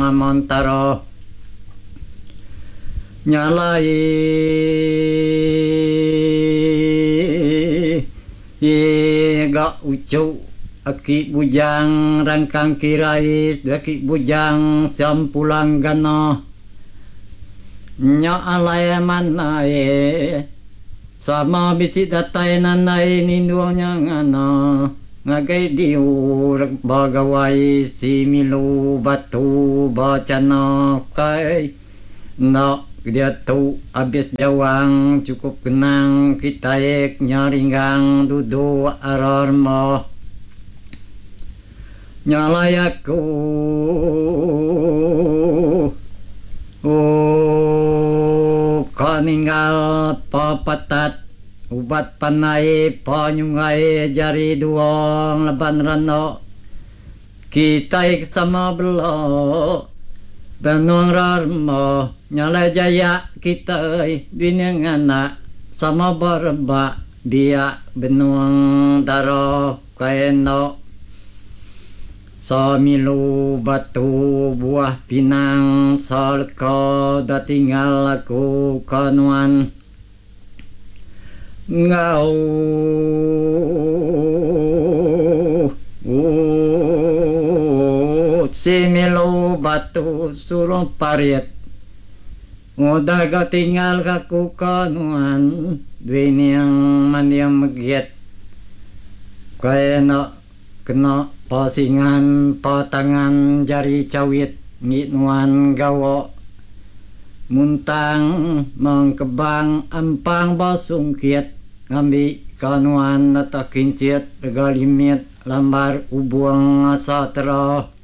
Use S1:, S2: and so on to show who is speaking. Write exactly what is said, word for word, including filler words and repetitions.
S1: Amontara. Nya alai ga uchu aki bujang rangkang kirai aki bujang Sempulang Gana. Nya alai manai sama bisi datai nandai nindung nya ngana ngagai diu ba gawai si milu batu ba chana kai enda diatu abis jawang chukup kenang kitai nya ringgang duduk ara rema. Nya alai aku ka ninggal pepetat ubat panai penyungai jari dua ngelaban randa kitai ke sama bela benung rarema. Nya alai jaya kitai bini nganak sama berebak biak benung dara kai enda. Semilu batu buah pinang seleka da tinggal aku ke nuan enggau semilu batu surung parit udah ga tinggal aku ke nuan duining manding megit kai enda kena pasingan patangan jari chawit ngi nuan gawa muntang mengkebang ampang basungkit ngambi ka nuan nata kinsit rega limit lambar ubung asa tera.